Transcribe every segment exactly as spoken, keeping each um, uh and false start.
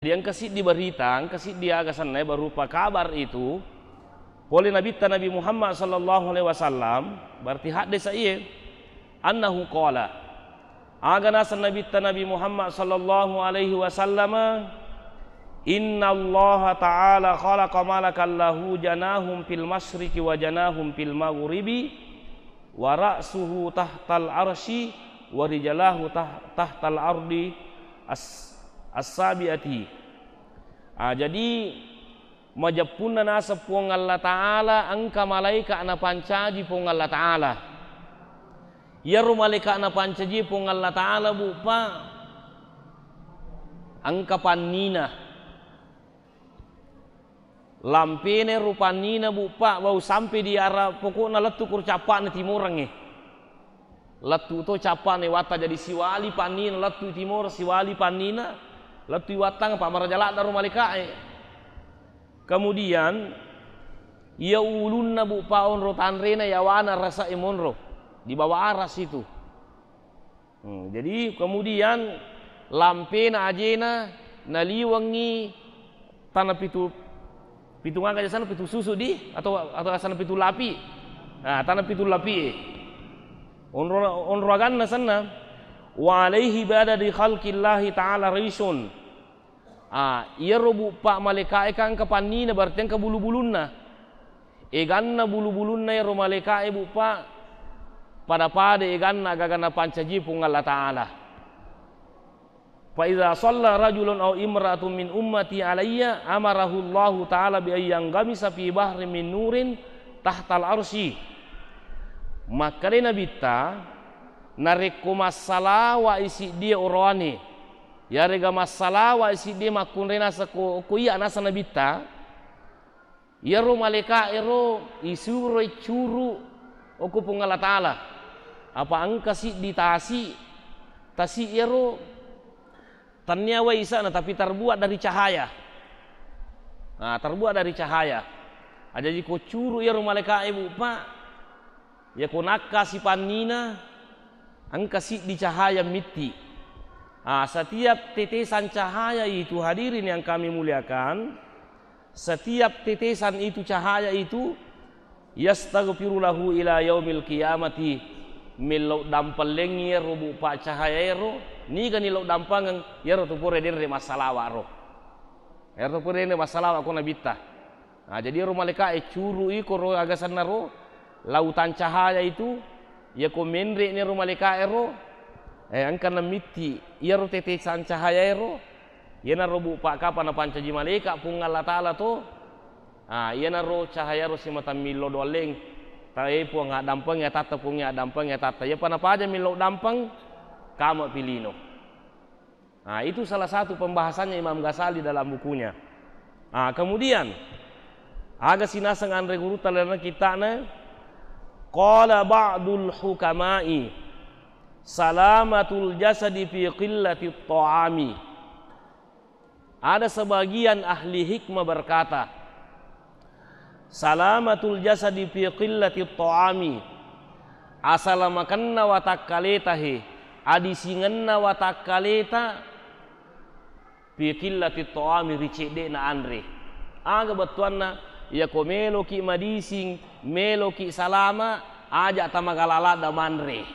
Jadi engka siddi berita, engka siddi aga senna berupa kabar itu, pole Nabitta Nabi Muhammad sallallahu alaihi wasallam, berarti haddesa iye, annahu qala, aga naseng Nabitta Nabi Muhammad sallallahu alaihi wasallam, "Innallaha ta'ala khalaqa malakan lahu janahun fil masyriqi wa janahun fil maghribi, wa ra'suhu tahtal arsy, wa rijalahu tah-, tahtal ardi as-, as-sabi'ati." Ah, jadi, majeppunna naseng Puang Allah Ta'ala engka malaika napancaji Puang Allah Ta'ala. Iyaro malaika napancaji Puang Allah Ta'ala, Bu, Pak, engka pannina. Lampena ero pannina, Bu, Pak, wau sampai di arah, pokokna lettu kuro cappa'na timorengnge. Lettu to cappa'na watta, jadi siwali pannina lettu timoro, siwali pannina lettu wattang, Pak, maraja ladda ro malaika'e. Kemudian iya ulunna, Bu, Pak, onro tanrena, yawana rasa e monro di bawah aras itu. Hmm, jadi kemudian lampena ajena naliwengngi tana pitu, pitu ngaga jasana, pitu susu di, atau, atau asana pitu lapi. Nah, tana pitu lapi e. Onro, onro aganna senna. Wa alaihi ba'da di khalqillahi ta'ala rishun. Ah, iyaro, Bu, Pak, malaika'e kan engka pannina, berarti engka bulu-bulunna. Eganna bulu-bulunna ero malaika'e, Bu, Pak, pada-pada eganna agaga napancaji Puang Allah Ta'ala. Fa iza shalla rajulun au imra'atun min ummati alayya amarahu Allahu Ta'ala bi ayyan gamisa fi bahri min nurin tahtal arsy. Makkeda Nabitta, narekko massalawa isiddie oroane, yarega massalawa isiddie makkunrai naseng ko, ko iya naseng Nabitta, iyaro malaika ero isuroi curu okko Puang Allah Ta'ala. Apa engka siddi tasi, tasi iyaro tennia wai isana, tapi terbuat dari cahaya. Nah, terbuat dari cahaya. Ajaji ko curu iyaro malaika e, Bu, Pak, iya ko nakkasi pannina, engka siddi cahaya mitti. Ah, setiap tetesan cahaya itu, hadirin yang kami muliakan, setiap tetesan itu, cahaya itu, yastaghfiru lahu ila yaumil qiyamati, mellau dampellengngi iyaro, Bu, Pak, cahaya ero, niga ni lau dampengeng, iyaro tu pura denre massalawa ro. Iyaro tu pura denre massalawa ko Nabitta. Nah, jadi ero malaika e curu i koro aga senna ro, lautan cahaya itu, iya ko menre ni ero malaika ero, eh, engka namitti iyaro tetesan cahaya ero, iyanaro, Bu, Pak, kapa napancaji malaika Puang Allah Ta'ala to, ah, iyanaro cahaya ro simata millau doalleng, tae Puang addampeng atatta, Puang addampeng atatta, iyapa napaja millau dampeng, kama pilino. Nah, itu salah satu pembahasannya Imam Ghazali dalam bukunya. Nah, kemudian, aga sinaseng anre gurutta lalenna kitta'na, qala ba'dul hukama'i, salamatul jasadi fi qillatit ta'ami. Ada sebagian ahli hikmah berkata, salamatul jasadi fi qillatit ta'ami, asalamakenna watakkaleta he, adisingenna watakkaleta, fi qillatit ta'ami, ri cedde'na anre. Aga bettuanna? Iyako meloki madising, meloki salama, aja tamagalalada manre.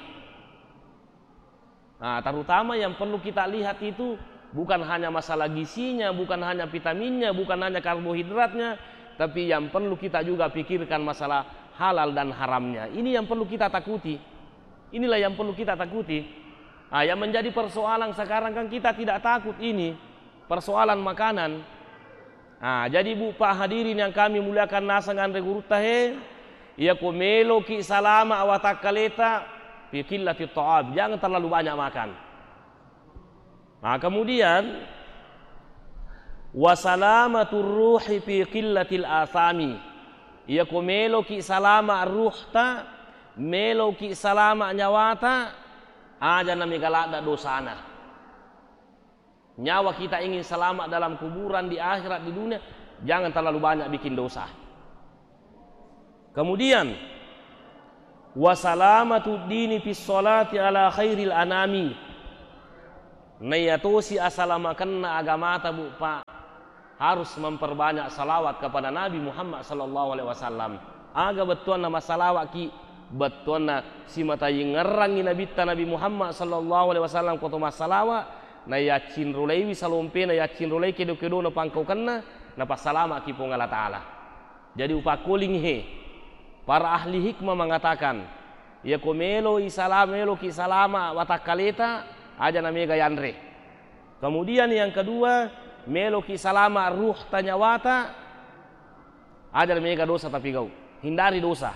Nah, terutama yang perlu kita lihat itu bukan hanya masalah gizinya, bukan hanya vitaminnya, bukan hanya karbohidratnya, tapi yang perlu kita juga pikirkan masalah halal dan haramnya. Ini yang perlu kita takuti. Inilah yang perlu kita takuti. Ah, yang menjadi persoalan sekarang kan kita tidak takut ini, persoalan makanan. Ah, jadi, Bu, Pak, hadirin yang kami muliakan, naseng anre gurutta he, iyako meloki salama watakkaleta, fi qillatit ta'am, jangan terlalu banyak makan. Nah, kemudian, wa salamatur ruhi fi qillatil asami, iyako meloki salama ruhta, meloki salama nyawata, aja namigaladda dosana. Nyawa kita ingin selamat dalam kuburan, di akhirat, di dunia, jangan terlalu banyak bikin dosa. Kemudian, wa salamatud dini fis sholati ala khairil anami. Naiyatosi asalamakenna agamata, Bu, Pak, harus memperbanyak salawat kepada Nabi Muhammad sallallahu alaihi wasallam. Aga bettuanna massalawatki? Bettuanna simatayingngerangngi Nabitta Nabi Muhammad sallallahu alaihi wasallam ko to massalawa, nayaccinrolaiwi salompena, yaccinrolai kedo-kedona pangkaukenna, napassalamaki Puang Allah Ta'ala. Jadi upakkoling he, para ahli hikmah mengatakan, iya ko melo isalama, meloki salama watakkaleta, aja na mega yanre. Kemudian yang kedua, meloki salama ruhta, nyawata, aja na mega dosa tapigau, hindari dosa.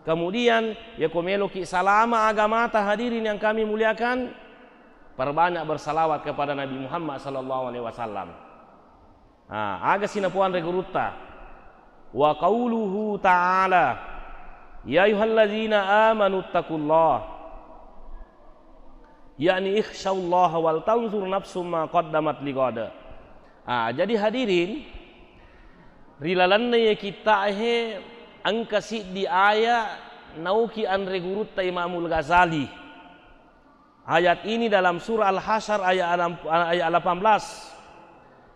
Kemudian, iya ko meloki salama agamata, hadirin yang kami muliakan, perbanyak bersalawat kepada Nabi Muhammad sallallahu alaihi wasallam. Ah, aga sinapuanre gurutta? Wa qauluhu ta'ala, "Ya ayyuhalladzina amanu taqullah." Yakni, "Ikhsyallaha wal tanzur nafsum ma qaddamat lighad." Ah, jadi hadirin, ri lalenna iye kitta'e engka siddi aya nauki anre gurutta Imamul Ghazali. Ayat ini dalam surah Al-Hasyr ayat enam, ayat delapan belas.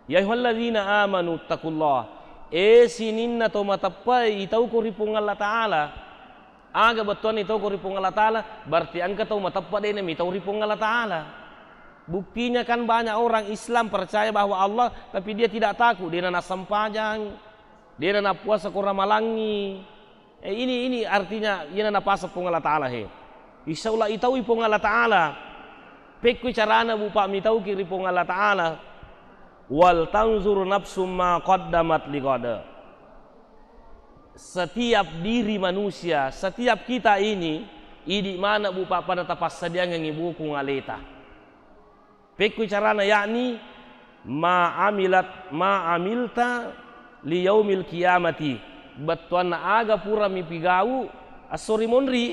"Ya ayyuhalladzina amanu taqullah." E sininna to mateppa, itauko ri Puang Allah Ta'ala. Aga bettuanna itauko ri Puang Allah Ta'ala? Berarti engka tau mateppa de namitau ri Puang Allah Ta'ala. Buktinya kan banyak orang Islam percaya bahwa Allah, tapi dia tidak takut, de na nassempajang, de na nappuasa ko Ramalangngi. Eh, ini, ini artinya iyana napaseng Puang Allah Ta'ala he. Insya Allah itaui Puang Allah Ta'ala. Pekkui carana, Bu, Pak, mitauki ri Puang Allah Ta'ala. "Wal tanzur nafsum ma qaddamat lighad." Setiap diri manusia, setiap kita ini, idi mana, Bu, Pak, pada tapassadiangengi bukung aleta. Pekkui carana, yakni ma amilat, ma amilta li yaumil qiyamati. Bettuanna aga pura mipigau esso ri monri.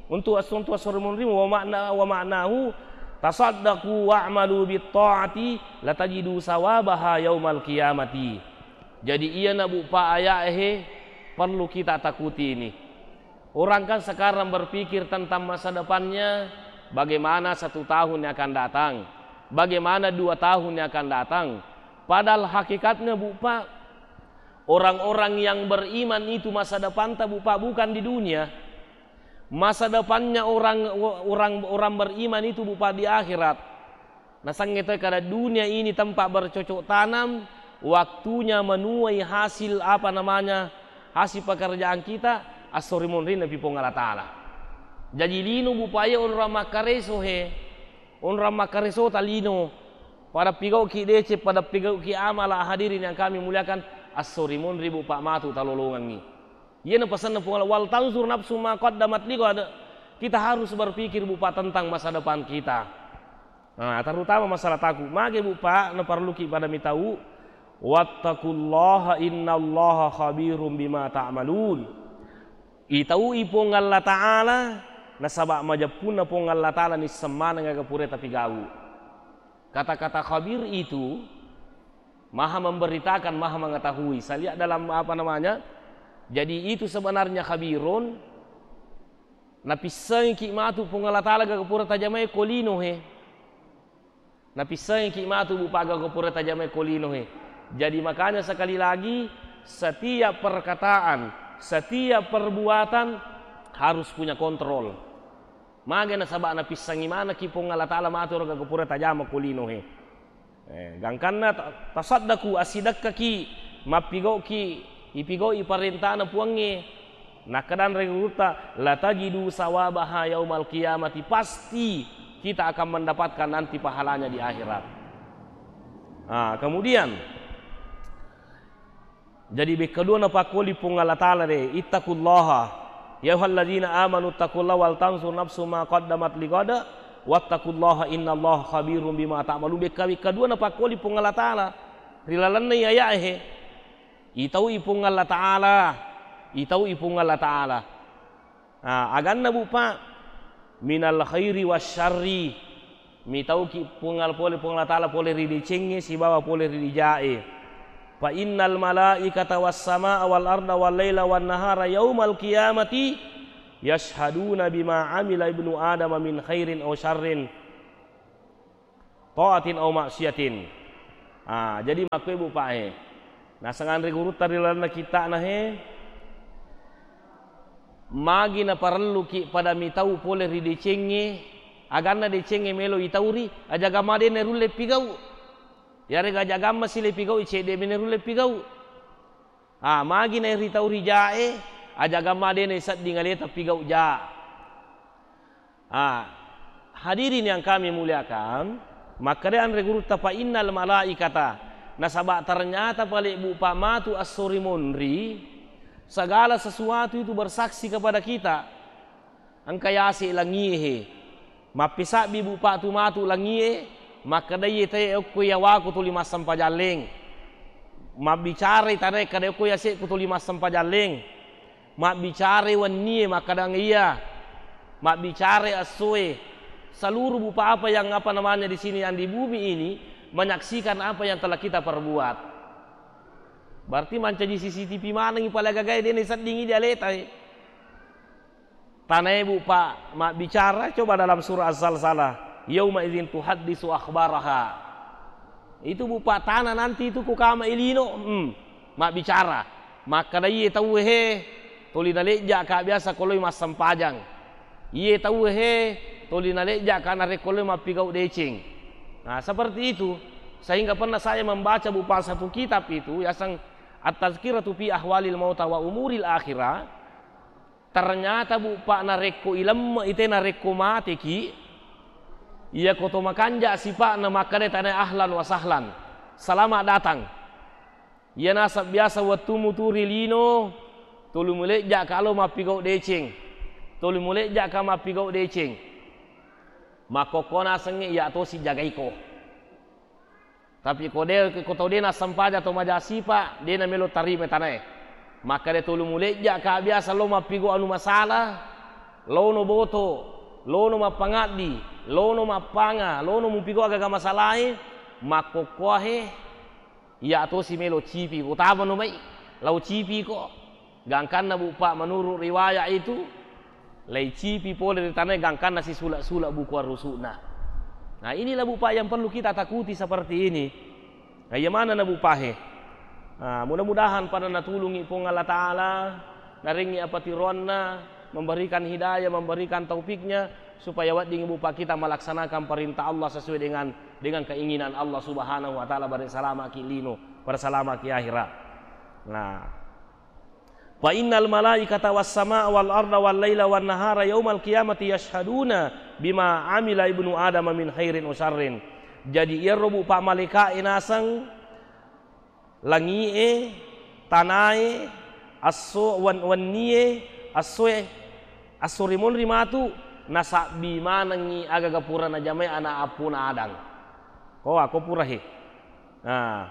Untuk esso, untuk esso ri monri, wa makna, wa maknahu, "Tasaddaqu wa'malu bit ta'ati latajidu sawabaha yaumal qiyamati." Jadi iyana, Bu, Pak, ayat he perlu kita takuti ini. Orang kan sekarang berpikir tentang masa depannya, bagaimana satu tahun yang akan datang, bagaimana dua tahun yang akan datang. Padahal hakikatnya, Bu, Pak, orang-orang yang beriman itu masa depanta, Bu, Pak, bukan di dunia. Masa depannya orang, orang, orang beriman itu, Bu, Pak, di akhirat. Nasengnge toi kada dunia ini tempat bercocok tanam, waktunya menuai hasil, apa namanya, hasil pekerjaan kita, esso ri monrinna pi Puang Allah Ta'ala. Jaji lino, Bu, Pak, iya onrang makkareso he, onrang makkaresota lino, pada pigauki deceng, pada pigauki amala, hadirin yang kami muliakan, esso ri monri, Bu, Pak, matu talolongengngi. Iyana pasenna Puang Allah, "Wal tanzur nafsum ma qaddamat lighad." Kita harus berpikir, Bu, Pak, tentang masa depan kita. Nah, terutama masalah takut. Mage, Bu, Pak, naparelluki pada mitau, "Wattaqullaha innallaha khabirum bima ta'malun." Itaui Puang Allah Ta'ala, nasaba majeppunna Puang Allah Ta'ala nisseng maneng aga pura tapigau. Kata-kata khabir itu Maha memberitakan, Maha mengetahui. Saya lihat dalam, apa namanya, jadi itu sebenarnya khabirun, napissengiki matu Puang Allah Ta'ala gaga pura tajamai ko lino he. Napissengiki matu, Bu, Pak, gaga pura tajamai ko lino he. Jadi makanya sekali lagi, setiap perkataan, setiap perbuatan harus punya kontrol. Mage nasaba napissengi manekki Puang Allah Ta'ala matu ro gaga pura tajama ko lino he. Eh, gangkanna ta-, tasaddaku, assidekkaki, mappigauki, ipigau'i parentana Puangnge. Nakkadanre gurutta, "Latajidu sawabaha yaumal qiyamati." Pasti kita akan mendapatkan nanti pahalanya di akhirat. Ah, kemudian, jadi, bekkadua napakkoli Puang Allah Ta'ala de, "Ittaqullaha, ya ayyuhalladzina amanu ittaqullaha wal tanzur nafsum ma qaddamat lighad, wattaqullaha innallaha khabirum bima ta'malun." Bekka-, bekkadua napakkoli Puang Allah Ta'ala ri lalenna aya'e he. Itaui Puang Allah Ta'ala, itaui Puang Allah Ta'ala. Ah, aganna, Bu, Pak, minal khairi wasyarri. Mitauki Puang Al-, pole Puang Allah Ta'ala pole ri decengnge sibawa pole ri dija'e. Fa innal malaikata was samaa wal arda wal laila wan nahara yaumal qiyamati yashhaduna bima amila ibnu adama min khairin aw syarrin. Taatin au maksiatin. Ah, jadi makkuwe Bu Pak e. Naseng anre gurutta ri lalenna kitta'na he, magi naparelluki pada mitau pole ri decengnge, aganna decengnge melo itauri, ajaga madene rulle pigau. Yarega ajaga masile pigau, cedde mene rulle pigau. Ah, magi naeritau ri jae, ajaga madene sedding aleta pigau ja. Ah, hadirin yang kami muliakan, makkeda anre gurutta, "Fa innal malaikata," nasaba ternyata pale Bu Pak matu esso ri monri, segala sesuatu itu bersaksi kepada kita. Engka yase langie he. Mappisabbi Bu Pak tu matu langie, makkeda iye tae okko iya waku tuli massempajang leng. Mabbicarai tanae kada okko yase'ku tuli massempajang leng. Mabbicarai wennie makkadang iya. Mabbicarai essoe. Seluruh Bu Pak apa yang, apa namanya, di sini yang di bumi ini menyaksikan apa yang telah kita perbuat. Berarti mancaji C C T V manengi pale gagae dena seddingi di aleta e. Tanae Bu Pak mabbicara, coba dalam surah Az-Zalzalah, "Yauma idzin tuhaddisu akhbaraha." Itu Bu Pak tana nanti itu ku kama ilino, hmm, mabbicara. Makkeda iye tauwe he, toli nalejja ka biasa ko loi massempajang. Iye tauwe he, toli nalejja ka narekko loi mappigau deceng. Nah, seperti itu. Sehingga pernah saya membaca Bu Pak satu kitab itu, yaseng At-Tazkiratu fi Ahwalil Mauta wa Umuril Akhirah. Ternyata Bu Pak, narekko ilemme ite, narekko mateki, iya ko to makanja sipa'na makkeda tanae, "Ahlan wa sahlan, selamat datang." Iya nasab biasa wettumu tu ri lino, tuli mulejja ka lo mappigau deceng, tuli mulejja ka mappigau deceng. Makkokko nasengnge iya tosi jagaiko. Tapi ko de, ko tau de nassempajang to maja sipa, de namelo tarima tanae. Makkeda tuli mulejja ka biasa lo mappigo anu masalah, lono boto, lono mappangaddi, lono mappanga, lono mupigo agaga masalae, makkokkoahe, iya tosi melo cipi, ko tamano mai, lao cipi ko. Gangkanna Bu Pak, menurut riwayat itu, laicipi pole ri tanae gangkanna sisula-sula buku arrusu'na. Nah, inilah Bu Pak yang perlu kita takuti seperti ini. Nah, iya manenna Bu Pak he. Nah, mudah-mudahan pada natulungi Puang Allah Ta'ala, narengngi apatiroanna, memberikan hidayah, memberikan taufiknya, supaya wedding Bu Pak kita melaksanakan perintah Allah sesuai dengan, dengan keinginan Allah Subhanahu wa Ta'ala, bare salamaki lino, pada salamaki akhirat. Nah, "Fa innal malaikata was samaa wal arda wal laila wan nahara yaumal qiyamati yashhaduna bima amila ibnu Adam min khairin wa syarrin." Jadi, iyaro Bu Pak malaika'e naseng, langi'e, tanae, esso, wen-, wennie, essoe, esso rimonri matu, nasabbi manengngi agaga pura najamai ana appuna Adang. Ko, ako pura he. Nah,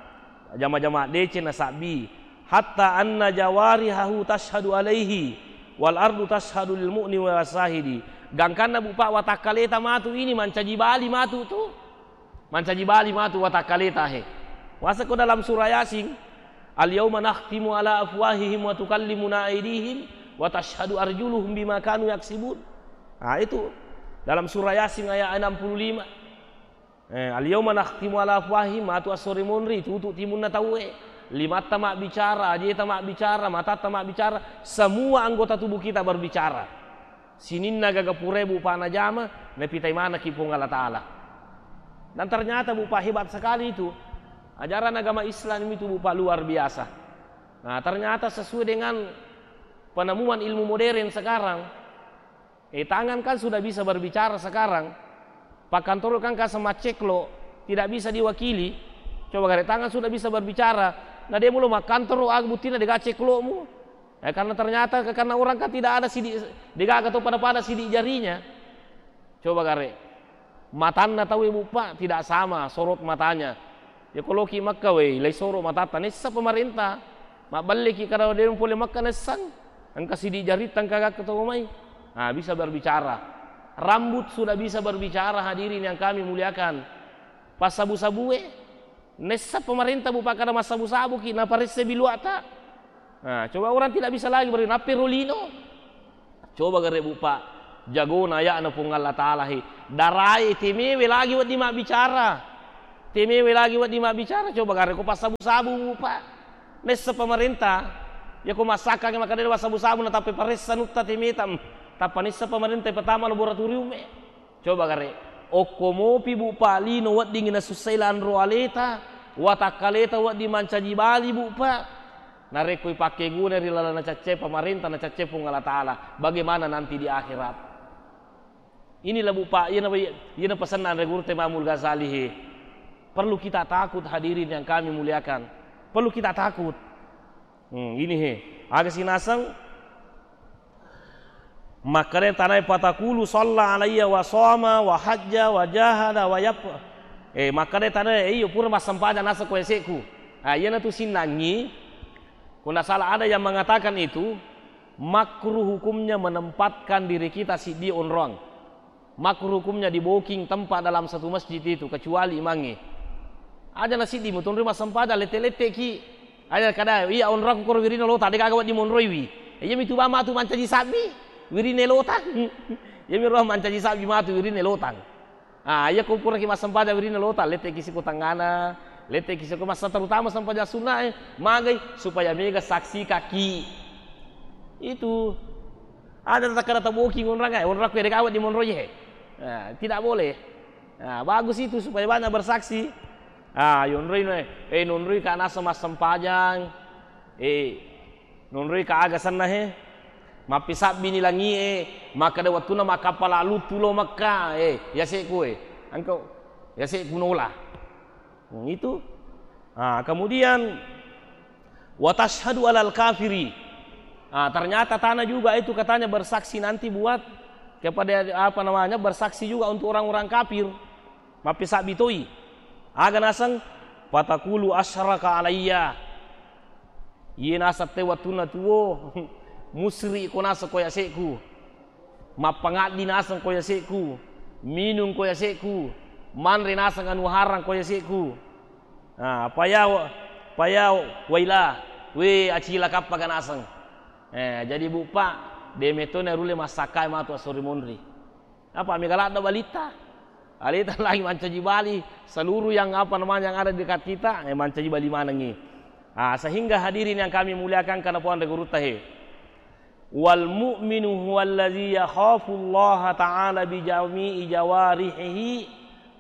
jama-jama deceng nasabbi. "Hatta anna jawarihahu tashhadu alaihi, wal ardu tashhadu lil mu'ni wa syahidi." Gangkanna Bu Pak, watakkaleta matu ini mancaji bali matu tu. Mancaji bali matu watakkaleta he. Wasako dalam surah Yasin, "Al yauma nakhtimu ala afwahihim wa tukallimuna aidihim wa tashhadu arjuluhum bima kanu yaksibun." Nah, itu dalam surah Yasin ayat enam puluh lima. Eh, "Al yauma nakhtimu ala afwahihim," matu esso rimonri, tutu timunna tauwe. Limatta mabbicara, ajeta mabbicara, matatta mabbicara, semua anggota tubuh kita berbicara. Sininna gaga purae Bu Pak najama, napitai manekki Puang Allah Ta'ala. Dan ternyata Bu Pak, hebat sekali itu. Ajaran agama Islam itu Bu Pak luar biasa. Nah, ternyata sesuai dengan penemuan ilmu modern sekarang, Eh, tangan kan sudah bisa berbicara sekarang. Pakkantoro kan kasa macceklo, tidak bisa diwakili. Coba gare, tangan sudah bisa berbicara. Na de mulo makkantoro, aga buttina dega ceklomu? Eh, karena ternyata, karena orang kan tidak ada sidik, degaga to pada-pada sidik jarinya. Coba gare. Matanna tauwe Bu Pak tidak sama sorot matanya. Ya, ko loki Mekka, wei, lai soro matatta, nessa pemerintah. Mabballeki kada de pole Mekka nessang. Engka sidik jaritta engka gakka to mai. Ah, bisa berbicara. Rambut sudah bisa berbicara, hadirin yang kami muliakan. Passabu-sabue, nessa pemerintah Bu Pak kada massabu-sabuki, naparesse biluata. Nah, coba orang tidak bisa lagi berarti nappe ro lino. Coba gare Bu Pak, jagona aya'na Puang Allah Ta'ala he. Darae temewe lagi wedding mabbicara. Temewe lagi wedding mabbicara, coba gare ko passabu-sabu, Bu, Pak. Nessa pemerintah, ya ko massakkangi makkeda de' wassabu-sabu, na tappe paressa nutta temeta, mm, tappa nessa pemerintah pertama laboratorium e. Coba gare, okko mopi, Bu, Pak, lino wedding nasussai lanro aleta, watakkaleta wedding mancaji bali, Bu, Pak. Narekko ipakkeguna ri laleng nacacce pemerintah, nacacce Puang Allah Ta'ala, bagaimana nanti di akhirat? Inilah, Bu, Pak, iyana, iyana pasenna anre gurutta Imamul Ghazali he. Perlu kita takut, hadirin yang kami muliakan. Perlu kita takut. Hmm, ini he. Aga sinaseng makkeda tanae, "Fatakulu shalla alayya wa shoma wa hajja wa jahada wa yap-," eh, makkeda tanae, "Eh, iyo pura massempajang naseng ko yase'ku." Ah, iyana tu sinnangi. Ko nda salah ada yang mengatakan itu, makruh hukumnya menempatkan diri kita siddi onroang. Makruh hukumnya di booking tempat dalam satu masjid itu, kecuali imangnge. Aja na siddi mutonroi massempajang, lette-letteki. Aja kada, "Iya, onroakku koro wirinna lota, de' gaga wedding monroiwi." Iya mitu ba matu mancaji sabbi, wirinna lota. Iya mi ro mancaji sabbi matu wirinna lotang. Ah, iya ko puraki massempajang wirinna lota, letteki siko tangngana, letteki siko massa, terutama sempajang sunna e, magai supaya mega saksi kaki. Itu. Ada takkada taboking onrang e, onrakku de' gaga wedding monroi he. Nah, tidak boleh. Nah, bagus itu supaya banyak bersaksi. Ah, yonroi no e, eh, nonroi ka nasa massempajang. Eh, nonroi ka aga senna he. Mappisabbini langi e, makkeda wettuna makkappala luttu lo Mekka, eh, yase'ku e. Engka yase'ku nola. Hmm, itu. Ah, kemudian, "Wa tashhadu alal kafiri." Ah, ternyata tana juga itu katanya bersaksi nanti buat kepada, apa namanya, bersaksi juga untuk orang-orang kafir. Mappisabbi toi. Aga naseng, "Fatakulu asyraka alayya." Iye naseng te wettunna tuo, musri ko naseng ko yase'ku. Mappangaddi naseng ko yase'ku, minung ko yase'ku, manre naseng anu harang ko yase'ku. Ah, paya, paya waila, we acilakappaga naseng. Eh, jadi Bu, Pak, de' metto narulle massakkae matu assori monri. Apa mega ladde balitta? Aleta lagi mancaji bali seluruh yang, apa namanya, yang ada di dekat kita, eh, mancaji bali manengi. Ah, sehingga hadirin yang kami muliakan, karena puang gurutta he. Wal mu'minu huwallazi yakhafullaha ta'ala bi jami'i jawarihihi,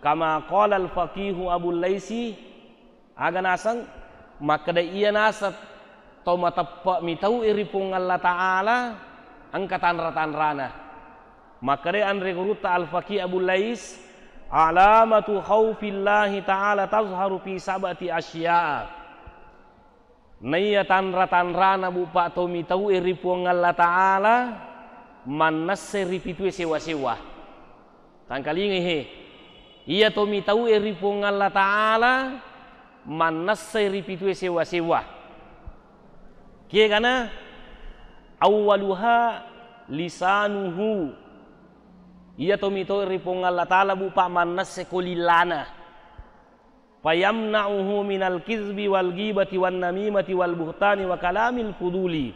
kama qala al-faqihu Abul Laisi. Aga naseng? Makkeda iya naseng to mateppe' mitau'i ri Puang Allah Ta'ala, engka tanra-tanrana. Makkeda anre gurutta Al-Faqih Abul Lais, "Alamatu khaufillahi ta'ala tazharu fi sab'ati asya'a." Naiya tanra-tanrana, Bu, Pak, to mitau'i ri Puang Allah Ta'ala, mannessai ri pitue sewa-sewa. Tangkalingai he. Iya to mitau'i ri Puang Allah Ta'ala, mannessai ri pitue sewa-sewa. Kegana, awwaluha lisanuhu. Iya to mitau'i ri Puang Allah Ta'ala, Bu, Pak, mannessai ko lillana. Fayamna'uhu minal kizbi wal ghibati wan namimati wal buhtani wa kalamil fuduli.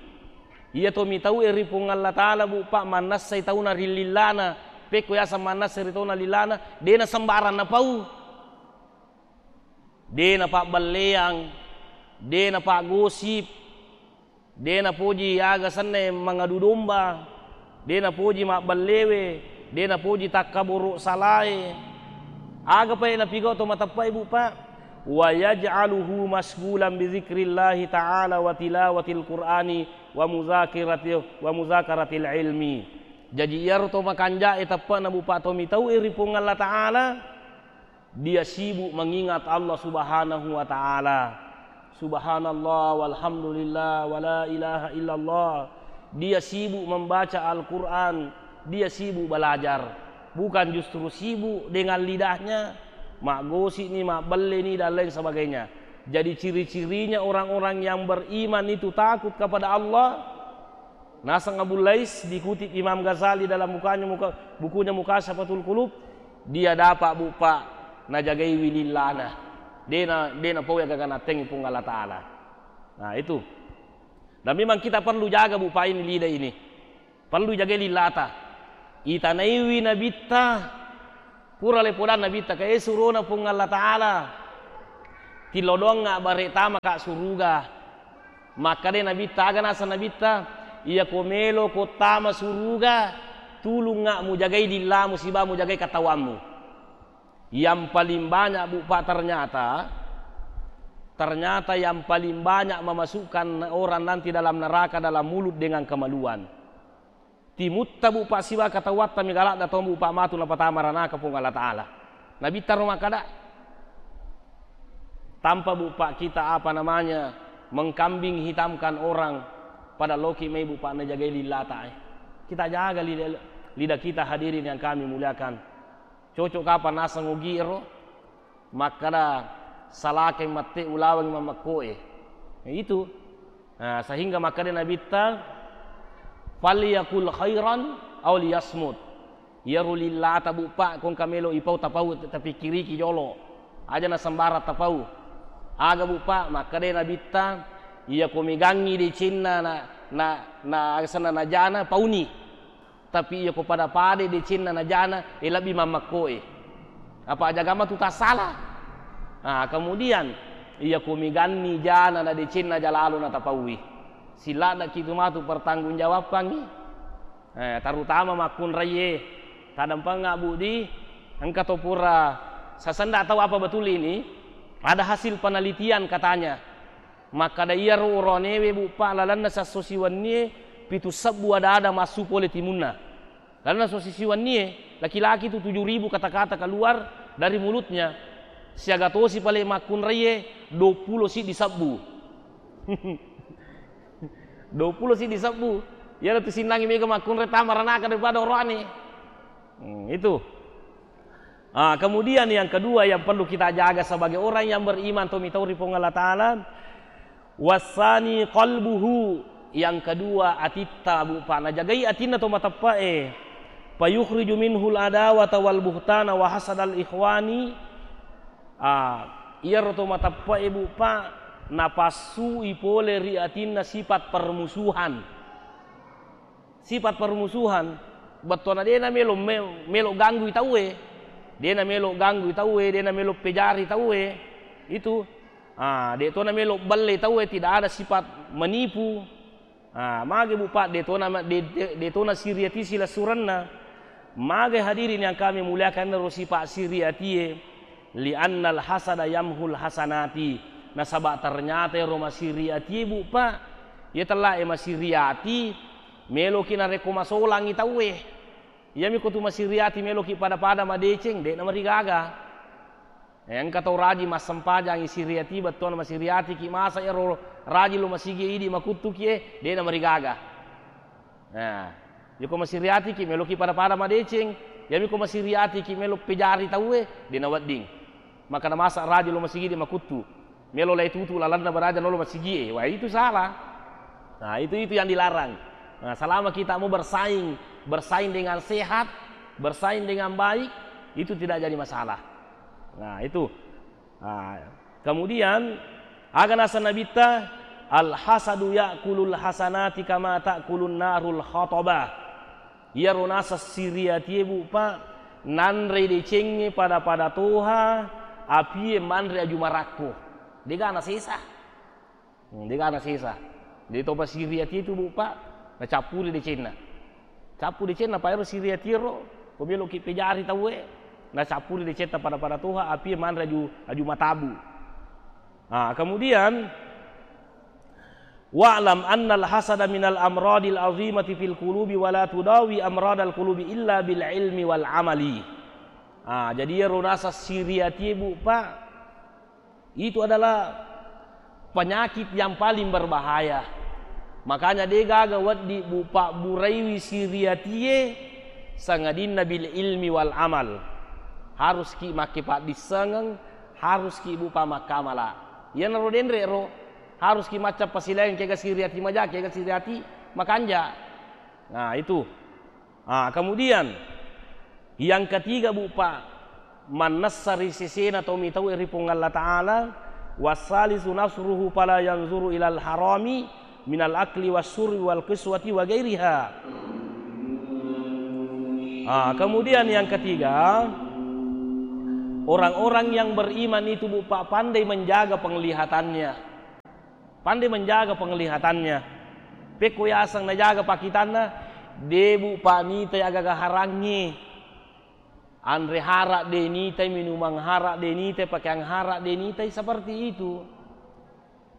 Iya to mitau'i ri Puang Allah Ta'ala, Bu, Pak, mannessai tauna ri lillana. Pekko yaseng mannessai ri tauna lillana, de' na sembarang napau. De' napabbelleang, de' napaggosip, de' napoji aga senna mangadu domba, de' napoji mabbellewe, de' napoji takkaboro salae. Aga pae napigau to mateppe'e, Bu, Pak? Wa yaj'aluhu masghulan bi dzikrillahi ta'ala wa tilawatil Qur'ani wa muzakirati, wa muzakaratil ilmi. Jaji iyaro to makanja'e teppe'na, Bu, Pak, to mitau'i ri Puang Allah Ta'ala, dia sibuk mengingat Allah Subhanahu wa Ta'ala. Subhanallah, walhamdulillah, wala ilaha illallah. Dia sibuk membaca Al-Quran, dia sibuk belajar. Bukan justru sibuk dengan lidahnya, maggosip ni, mabbelle ni, dan lain sebagainya. Jadi ciri-cirinya orang-orang yang beriman itu takut kepada Allah, Naseng Abu Lais dikutip Imam Ghazali dalam bukunya muka-, bukunya Mukasyafatul Qulub, dia dapat, Bu, Pak, najagaiwi lillana. De' na, de' napau aga-aga nattengngi Puang Allah Ta'ala. Nah, itu. Dan memang kita perlu jaga, Bu, Pak, ini lidah ini. Perlu jagai lillata. Itanaiwi nabitta, pura le podang nabitta, kae surona Puang Allah Ta'ala. Tilodongnga bare' tamaka suruga. Makkeda Nabitta, aga naseng Nabitta, iyako meloko tama suruga, tulungnga mujagai lillamu siba mujagai katawammu. Yang paling banyak, Bu, Pak, ternyata, ternyata yang paling banyak memasukkan orang nanti dalam neraka dalam mulut dengan kemaluan. Timutta, Bu, Pak, siba katawatta mega ladda tau, Bu, Pak, matu napatama ranaka Puang Allah Ta'ala. Nabitta ro makkeda, tanpa, Bu, Pak, kita, apa namanya, mengkambing hitamkan orang pada loki mai, Bu, Pak, najagai lillata, eh. Kita jaga lidah, lidah kita, hadirin yang kami muliakan. Cocok kapang naseng ugi ero? Makkeda, salakeng mette ulaweng mammekkoe. Itu. Nah, sehingga makkeda Nabitta, "Falyakul khairan aw liyasmut." Iyaro lillata, Bu, Pak, ko engka melo ipau tapau, tapikkiriki jolo. Aja nasembarang tapau. Aga, Bu, Pak, makkeda Nabitta, iyako megangngi decenna na, na, na, asenna najana, pauni. Tapi iyako pada-pada decenna najana, eh, lebbi mammekkoe. Apa aja gama tu tasala. Ah, kemudian, iyako meganni jana na decenna jalalo natapaui. Siladdaki tu matu pertanggungjawabbangngi. Eh, terutama makkunraie, tadampengnga, Bu, di, engka to pura sasenda tau apa betul ini, ada hasil penelitian katanya. Makkeda iyaro oroanewe, Bu, Pak, lalenna sesso siwennie pitu sebbu ada-ada massu pole timunna. Lalenna sesso siwennie, laki-laki tu tujuh ribu kata-kata keluar dari mulutnya. Siaga tosi pale makkunraie, dua puluh siddi sebbu. Dua puluh siddi sebbu. Iyana tu sinnangi mega makkunrai tama ranaka daripada oroane. Hmm, itu. Ah, kemudian yang kedua yang perlu kita jaga sebagai orang yang beriman, to mitau ri Puang Allah Ta'ala, wasani qalbuhu, yang kedua atitta, Bu, Pak, najagai atinna to mateppe'e, fayukhriju minhul adawata wal buhtana wa hasadal ikhwani. Ah, iyaro to mateppe'e, Bu, Pak, napassui pole ri atinna sifat permusuhan. Sifat permusuhan, bettuanna de' namelo me-, melo ganggui tauwe, de' namelo ganggui tauwe, de' namelo pejari tauwe. Itu, ah, de' to namelo belle tauwe, tidak ada sifat menipu. Ah, mage, Bu, Pak, de' to nama-, de-, de-, de' to nasiriati silessurenna. Mage, hadirin yang kami muliakan, ro sifat siriatie. Li'annal hasada yamhul hasanati. Nasaba ternyata ero masiriatie, Bu, Pak, iya tellae masiriati, meloki narekko masolangi tauwe. Iyami ko tu masiriati meloki pada-pada madeceng, de' namarigaga. Eh, engka tau rajing massempajangi siriati, bettuanna masiriatiki, masa ero rajing lo masigi idi makuttuki, eh, de' namarigaga. Nah, iyako masiriatiki, meloki pada-pada madeceng, iyami ko masiriatiki melo pejari tauwe, de' nawedding. Maka namasa rajing lo masigi de' makuttu. Melo lai tutu lalenna baraja nolo masigi e. Wah, itu salah. Nah, itu, itu yang dilarang. Nah, selama kita mau bersaing, bersaing dengan sehat, bersaing dengan baik, itu tidak jadi masalah. Nah, itu. Ah, kemudian, aga naseng Nabitta, "Al hasadu ya'kulul hasanati kama ta'kulun narul khatabah." Iyaro naseng siriatie, Bu, Pak, nanre decengnge pada-pada toha, apie manre aju marakko. De'ga nasesa. Hmm, de'ga nasesa. Jadi to masiriatie tu, Bu, Pak, nacappuri decenna. Cappu decenna, pa ero siriatiero, ko meloki pejari tauwe, nacappuri decetta pada-pada toha, apie manre aju, aju matabu. Ah, kemudian, "Wa'lam annal hasada minal amradil azimati fil qulubi wa la tudawi amradal qulubi illa bil ilmi wal amali." Ah, jadi iyaro naseng siriatie, Bu, Pak, itu adalah penyakit yang paling berbahaya. Makanya de'gaga wedding, Bu, pabburaiwi siriatie, sangadinna bil ilmi wal amal. Haruski makke paddissengeng, haruski, Bu, pamakkamala. Iyanaro denre ro, haruski macca pasilaing kega siriati maja, kega siriati makanja. Nah, itu. Ah, kemudian yang ketiga, Bu, Pak, mannessa ri sesena to mitau ri Puang Allah Ta'ala, "Wassalisu nasruhu fala yanzuru ilal harami minal akli wasyurbi wal qiswati wa ghairiha." Ah, kemudian yang ketiga, Orang-orang yang beriman itu, Bu, Pak, pandai menjaga penglihatannya. Pandai menjaga penglihatannya. Pekko yaseng najaga pakkitanna, de, Bu, Pak, nitai agaga harangnge. Anre hara de nitai, minumang hara de nitai, pakeang hara de nitai, seperti itu.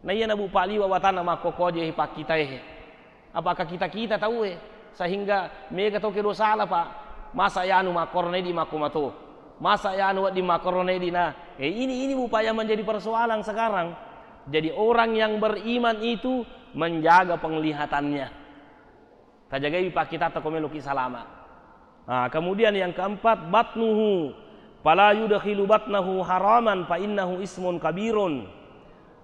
Na iyana, Bu, Pak, liwa watanna makkokkoje pakkitae. Apakah kita-kita tauwe sehingga mega to kedo sala, Pak? Masa yanu makkorona idi makko mato? Masa yanu wedding makkorona idi na? Eh, ini, ini, Bu, Pak, yang menjadi persoalan sekarang. Jadi orang yang beriman itu menjaga penglihatannya. Tajagai pakkitatta ko meloki salama. Ah, kemudian yang keempat, batnuhu, fala yudkhilu batnahu haraman fa innahu ismun kabirun.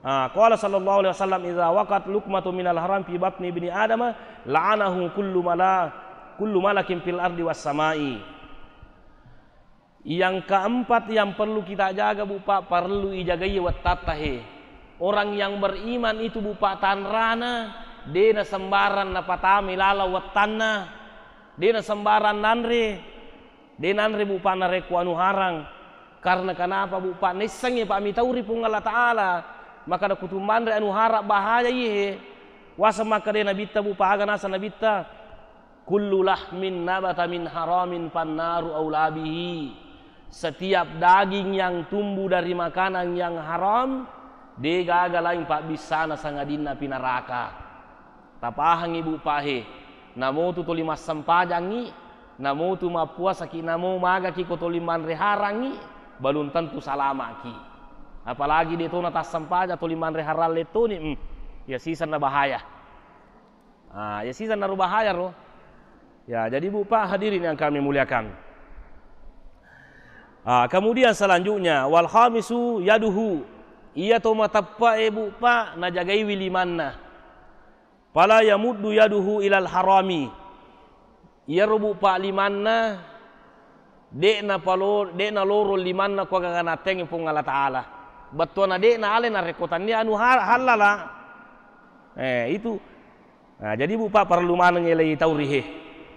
Ah, qala sallallahu alaihi wasallam, "Idza waqat luqmatu minal haram fi batni ibni Adama, la'anahu kullu mala-, kullu malakin fil ardi was samai." Yang keempat yang perlu kita jaga, Bu, Pak, perlu ijagai wettatta he. Orang yang beriman itu, Bu, Pak, tanrana, de na sembarang napatamai laleng wettanna, de na sembarang nanre, de nanre, Bu, Pak, narekko anu harang. Karena kenapa, Bu, Pak? Naissengngi, Pak, mitauri Puang Allah Ta'ala. Maka nakutummanre anu harang bahaya iye he. Waseng makkeda Nabitta, Bu, Pak, aga naseng Nabitta? "Kullu lahmin nabata min haramin fannaru aula bihi." Setiap daging yang tumbuh dari makanan yang haram, de gaga laing pabbissana sangadinna api neraka. Tapahangngi, Bu, Pak, he. Namotu toli massempajangngi, namotu mappuasaki, namo magaki ko toli manre harangngi, belum tentu salama'ki. Apalagi de tona tassempajang, toli manre harang lettoni, hmm, ya sisenna bahaya. Ah, ya sisenna ro bahaya ro. Ya, jadi, Bu, Pak, hadirin yang kami muliakan. Ah, kemudian selanjutnya, wal khamisu yaduhu. Iya to mateppe'e, Bu, Pak, najagaiwi limanna. Fala yamuddu yaduhu ilal harami. Iyaro, Bu, Pak, limanna, de'na palo-, de'na loro limanna ko aga-aga nattengngi Puang Allah Ta'ala. Bettuanna de'na ale narekko tannia anu ha-, hallala. Eh, itu. Nah, jadi, Bu, Pak, perlu maneng elei tau rihe.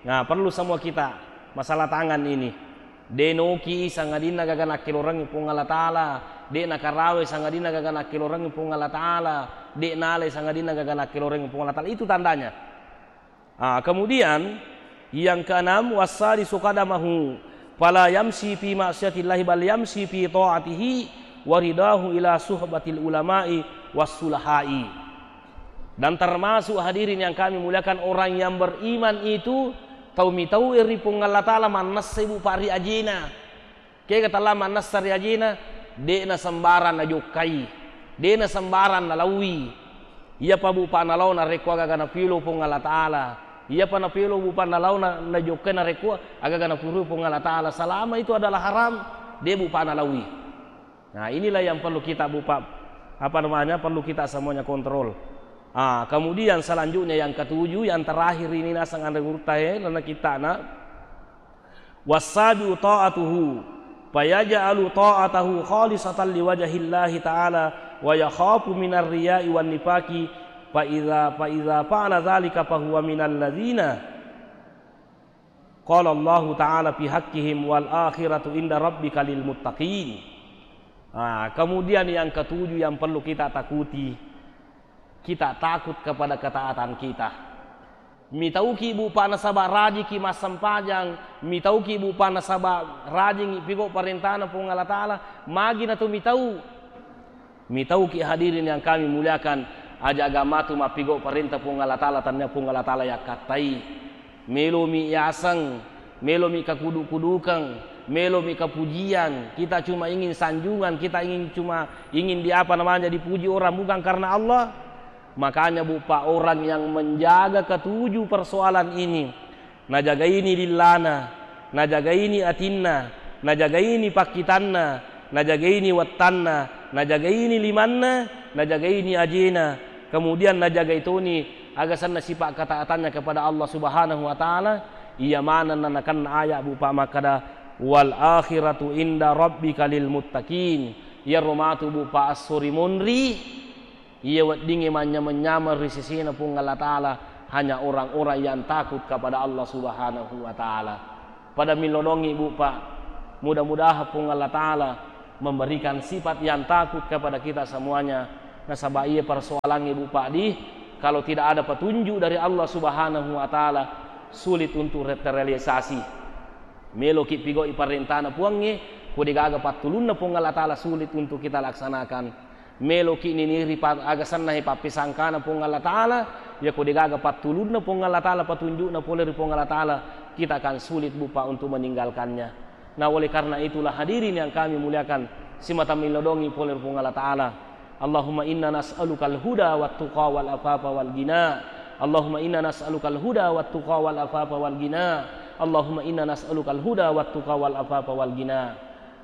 Nah, perlu semua kita masalah tangan ini. De noki sangadinna gaga nakkelorengngi Puang Allah Ta'ala. De nakarawe sangadinna gaga nakkelorengngi Puang Allah Ta'ala. De nalai sangadinna gaga nakkelorengngi Puang Allah Ta'ala. Itu tandanya. Ah, kemudian yang keenam, wasadisu qadamahu, fala yamsi fi ma'siyatillahi bal yamsi fi ta'atihi wa ridahu ila suhbatil ulama'i was sulahai. Dan termasuk, hadirin yang kami muliakan, orang yang beriman itu tau mitau ri Puang Allah Ta'ala mannessai, Bu, Pak, ri ajena. Kega tella mannessa ri ajena, de'na sembarang najokkai, de'na sembarang nalaui. Iyapa, Bu, Pak, nalao narekko aga-aga napilo Puang Allah Ta'ala. Iyapa napilo, Bu, Pak, nalao na-, najokkai narekko aga-aga napurui Puang Allah Ta'ala. Selama itu adalah haram, de, Bu, Pak, nalaui. Nah, inilah yang perlu kita, Bu, Pak, apa namanya, perlu kita semuanya kontrol. Ah, kemudian selanjutnya yang ketujuh, yang terakhir ini naseng anre gurutta e, nana kita na. Wassabi'u ta'atuhu, fayaj'alu ta'atahu khalisatan liwajhillahi ta'ala, wa yakhafu minar riya'i wan nifaqi, fa idza, fa idza fa'ala dzalika fa huwa minal ladzina qala Allahu ta'ala fi haqqihim, "Wal akhiratu inda rabbika lil muttaqin." Nah, kemudian yang ketujuh yang perlu kita takuti, kita takut kepada ketaatan kita. Mitauki, Bu, Pak, nasaba rajiki massempajang, mitauki, Bu, Pak, nasaba rajingi pigau parentana Puang Allah Ta'ala, magi natu mitau? Mitauki, hadirin yang kami muliakan, aja aga matu mappigau parenta Puang Allah Ta'ala, tannia Puang Allah Ta'ala yakkattai. Melomi yaseng, melomi kakudu-kudukeng, melomi kapujian, kita cuma ingin sanjungan, kita ingin cuma ingin di apa namanya, dipuji orang, bukan karena Allah. Makanya, Bu, Pak, orang yang menjaga ketujuh persoalan ini, najagaini lillana, najagaini atinna, najagaini pakkitanna, najagaini wettanna, najagaini limanna, najagaini ajena, kemudian najagai toni aga senna sifat ketaatannya kepada Allah Subhanahu wa Ta'ala, iya manenna nakenna ayat, Bu, Pak, makkeda, "Wal akhiratu inda rabbika lil muttaqin." Iyaro matu, Bu, Pak, esso ri monri, iya weddingnge manyameng-nyameng ri sesena Puang Allah Ta'ala, hanya orang-orang yang takut kepada Allah Subhanahu wa Ta'ala. Pada millonongi, Bu, Pak. Mudah-mudahan Puang Allah Ta'ala memberikan sifat yang takut kepada kita semuanya. Nasaba iya persoalannya, Bu Pak, di, kalau tidak ada petunjuk dari Allah Subhanahu wa Ta'ala, sulit untuk re-, terrealisasi. Meloki pigau'i parentana Puangnge, ko degaga pattulunna Puang Allah Ta'ala, sulit untuk kita laksanakan. Meloki niniri pa-, aga sennahe pappisangkana Puang Allah Ta'ala, ya ko degaga pattulunna Puang Allah Ta'ala, petunjukna pole ri Puang Allah Ta'ala, kita akan sulit, Bu Pak, untuk meninggalkannya. Nah, oleh karena itulah, hadirin yang kami muliakan, simata milodongi pole ri Puang Allah Ta'ala. Allahumma inna nas'alukal huda wat tuqa wal afafa wal ghina. Allahumma inna nas'alukal huda wat tuqa wal afafa wal ghina. Allahumma inna nas'alukal huda wat tuqa wal afafa wal ghina.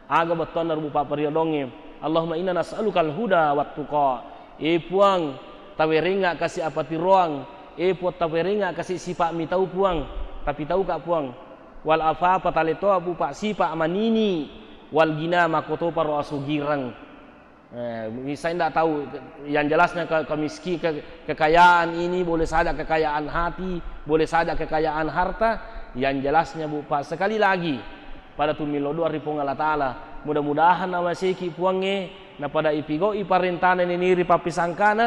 Aga bettuanna rupa pariyodongnge. Allahumma inna nas'alukal huda wat tuqa. E Puang, tawerengnga kasi apatiroang. E Puang, tawerengnga kasi sipa mitau, Puang. Tapi tauka, Puang. Wal afafa, taletoa, Bu Pak, sipa manini. Wal ghina, makkotoparo asugireng. Eh, saya ndak tahu, yang jelasnya ke-, kemiski-, ke-, kekayaan ini boleh saja kekayaan hati, boleh saja kekayaan harta, yang jelasnya, Bu Pak, sekali lagi, pada tumillo doa ri Puang Allah Ta'ala, mudah-mudahan namaseki Puangnge, napada ipigau'i parentana niniri pappisangkana,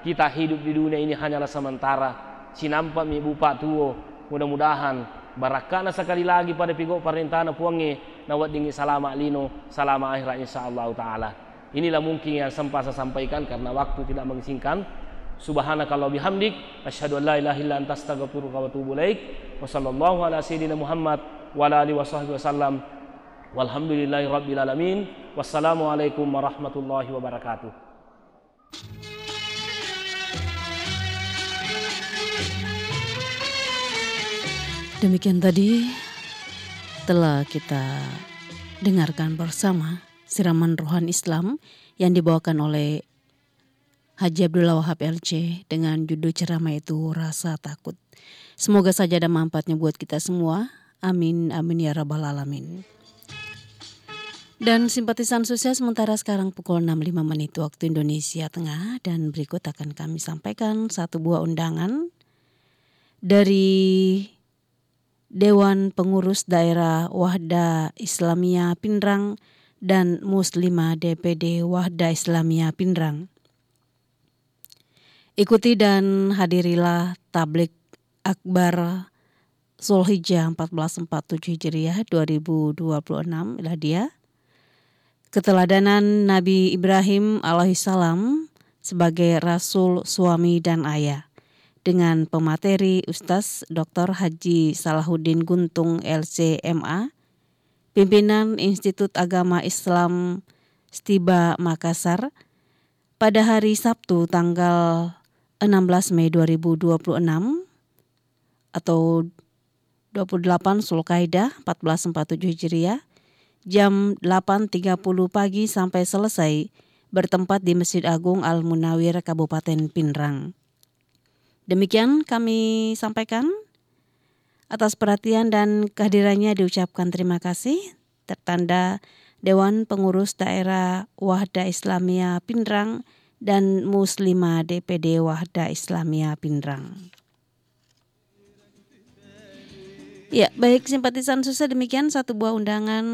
kita hidup di dunia ini hanyalah sementara, sinampami, Bu Pak, tuo, mudah-mudahan barakkana sekali lagi pada pigau parentana Puangnge, naweddingi salama lino, salama akhirat, insya Allah Ta'ala. Inilah mungkin yang sempat saya sampaikan karena waktu tidak mengizinkan. Subhanakallah bihamdik, asyhadu an la ilaha illa anta, astaghfiruka wa atubu ilaik. Wa sallallahu ala sayyidina Muhammad wa ala alihi wa sahbihi wasallam. Walhamdulillahi rabbil alamin. Wassalamualaikum warahmatullahi wabarakatuh. Demikian tadi telah kita dengarkan bersama siraman rohani Islam yang dibawakan oleh Haji Abdullah Wahab L C dengan judul ceramah itu Rasa Takut. Semoga saja ada manfaatnya buat kita semua. Amin, amin ya rabbal alamin. Dan simpatisan sukses, sementara sekarang pukul enam lima menit waktu Indonesia Tengah, dan berikut akan kami sampaikan satu buah undangan dari Dewan Pengurus Daerah Wahda Islamiyah Pinrang dan Muslimah D P D Wahda Islamiyah Pinrang. Ikuti dan hadirilah Tablik Akbar Zulhijjah empat belas empat tujuh Hijriah dua ribu dua puluh enam Miladiah. Keteladanan Nabi Ibrahim alaihissalam sebagai rasul, suami, dan ayah, dengan pemateri Ustaz Doktor Haji Salahuddin Guntung, L C M A, pimpinan Institut Agama Islam Stiba Makassar, pada hari Sabtu tanggal enam belas Mei dua ribu dua puluh enam atau dua puluh delapan Zulkaidah empat belas empat tujuh Hijriah, jam delapan tiga puluh pagi sampai selesai, bertempat di Masjid Agung Al Munawir, Kabupaten Pinrang. Demikian kami sampaikan. Atas perhatian dan kehadirannya diucapkan terima kasih. Tertanda Dewan Pengurus Daerah Wahda Islamiyah Pinrang dan Muslimah D P D Wahda Islamiyah Pinrang. Ya, baik, simpatisan sukses, demikian satu buah undangan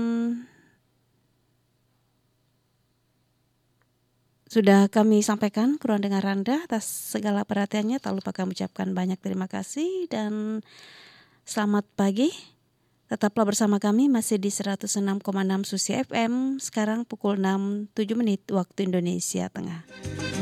sudah kami sampaikan. Kurang dengar Anda, atas segala perhatiannya, tak lupa kami ucapkan banyak terima kasih dan selamat pagi. Tetaplah bersama kami masih di seratus enam koma enam Susi F M. Sekarang pukul enam tujuh menit waktu Indonesia Tengah.